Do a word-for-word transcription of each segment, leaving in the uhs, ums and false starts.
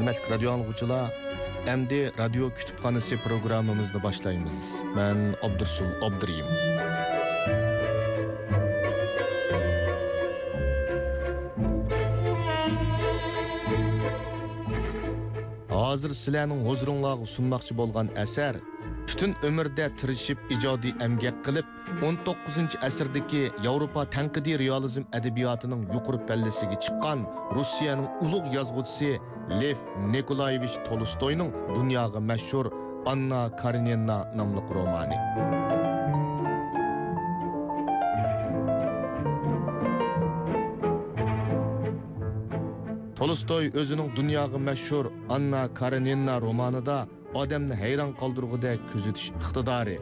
ھۆرمەتلىك رادىيو ئاڭلىغۇچىلار، ئەمدى رادىيو كۇتۇپخانىسى پروگراممىمىزنى باشلايمىز. مەن ئابدۇرسۇل ئابدۇرېھىم. ھازىر سىلەرنىڭ ھۇزۇرۇڭلارغا سۇنماقچى بولغان ئەسەر، پۈتۈن ئۆمرىدە تىرىشىپ ئىجادىي ئەمگەك قىلىپ، ئون توققۇزىنچى ئەسىردىكى ياۋروپا تەنقىدىي رېئالىزم ئەدەبىياتىنىڭ يۇقىرى پەللىسىگە چىققان روسىيەنىڭ ئۇلۇغ يازغۇچىسى لېف نىكولايېۋىچ تولستوينىڭ دۇنياغا مەشھۇر ئاننا كارېنىنا ناملىق رومانى. تولستوي ئۆزىنىڭ دۇنياغا مەشھۇر ئاننا كارېنىنا رومانىدا ئادەمنى ھەيران قالدۇرغۇدەك كۆزىتىش ئىقتىدارى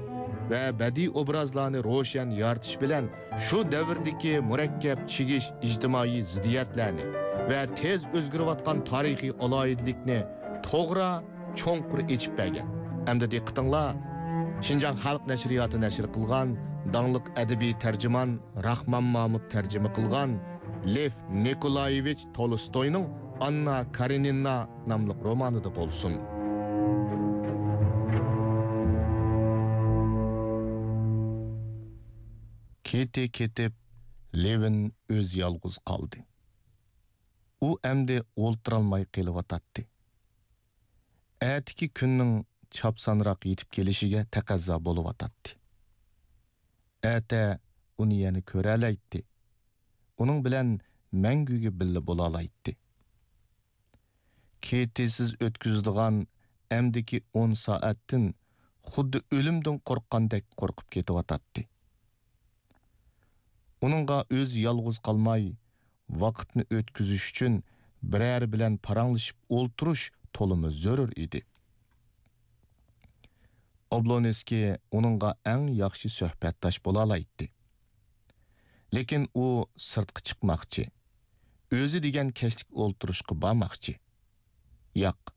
ۋە بەدىئىي ئوبرازلارنى روشەن يارىتىش بىلەن شۇ دەۋردىكى مۇرەككەپ چىگىش ئىجتىمائىي زىددىيەتلەرنى ۋە تېز ئۆزگىرىۋاتقان تارىخىي ئالاھىدىلىكنى توغرا، چوڭقۇر ئېچىپ بەرگەن. ئەمدى دىققىتىڭلار، شىنجاڭ خەلق نەشرىياتى نەشر قىلغان داڭلىق ئەدەبىي تەرجىمان راخمان مامۇت تەرجىمە قىلغان لېف نىكولايېۋىچ تولستوينىڭ ئاننا كارېنىنا ناملىق رومانىدا بولسۇن. كېتى كېتىپ، لېۋىن ئۆزى يالغۇز قالدى. ئۇ ئەمدى ئولتۇرالماي قېلىۋاتاتتى. ئەتىكى كۈننىڭ چاپسانراق يېتىپ كېلىشىگە تەقەززا بولۇۋاتاتتى. ئەتە ئۇنى يەنە كۆرەلەيتتى. ئۇنىڭ بىلەن مەڭگۈگە بىللە بولالايتتى. كېتىسىز ئۆتكۈزىدىغان ئەمدىكى ئون سائەتتىن خۇددى ئۆلۈمدىن قورققاندەك قورقۇپ كېتىۋاتاتتى. ئۇنىڭغا ئۆزى يالغۇز قالماي، ۋاقىتنى ئۆتكۈزۈش ئۈچۈن بىرەرى بىلەن پاراڭلىشىپ ئولتۇرۇش تولىمۇ زۆرۈر ئىدى. ئوبلونسكىي ئۇنىڭغا ئەڭ ياخشى سۆھبەتداش بولالايتتى. لېكىن ئۇ سىرتقا چىقماقچى، ئۆزى دېگەن كەچلىك ئولتۇرۇشقا بارماقچى. ياق،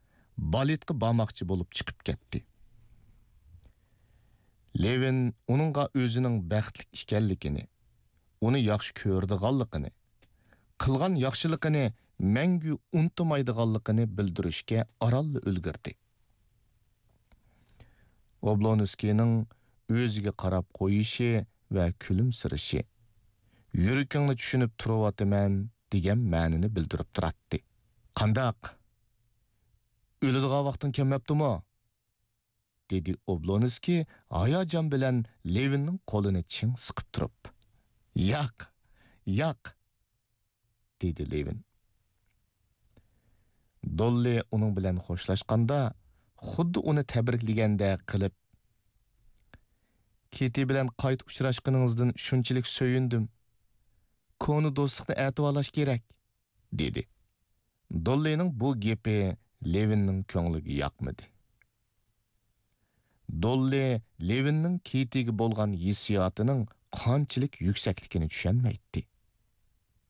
بالېتقا بارماقچى بولۇپ چىقىپ كەتتى. لېۋىن ئۇنىڭغا ئۆزىنىڭ بەختلىك ئىكەنلىكىنى، ئۇنى ياخشى كۆرىدىغانلىقىنى، قىلغان ياخشىلىقىنى مەڭگۈ ئۇنتۇمايدىغانلىقىنى بىلدۈرۈشكە ئارانلا ئۈلگۈردى. ئوبلونسكىينىڭ ئۆزىگە قاراپ قويۇشى ۋە كۈلۈمسىرىشى، «يۈرىكىڭنى چۈشىنىپ تۇرۇۋاتىمەن» دېگەن مەنىنى بىلدۈرۈپ تۇراتتى. «قانداق؟ ئۆلىدىغان ۋاقتىڭ كەلمەپتۇمۇ؟» دېدى ئوبلونسكىي ھاياجان بىلەن لېۋىننىڭ قولىنى چىڭ سىقىپ تۇرۇپ. «ياق، ياق!» دېدى لېۋىن. دوللى ئۇنىڭ بىلەن خوشلاشقاندا، خۇددى ئۇنى تەبرىكلىگەندەك قىلىپ، «كېتى بىلەن قايتا ئۇچراشقىنىڭىزدىن شۇنچىلىك سۆيۈندۈم. كونا دوستلۇقنى ئەتىۋارلاش كېرەك» دېدى. دوللىنىڭ بۇ گېپى لېۋىننىڭ كۆڭلىگە ياقمىدى. دوللى لېۋىننىڭ كېتىگە بولغان ھېسسىياتىنىڭ قانچىلىك يۈكسەكلىكىنى چۈشەنمەيتتى.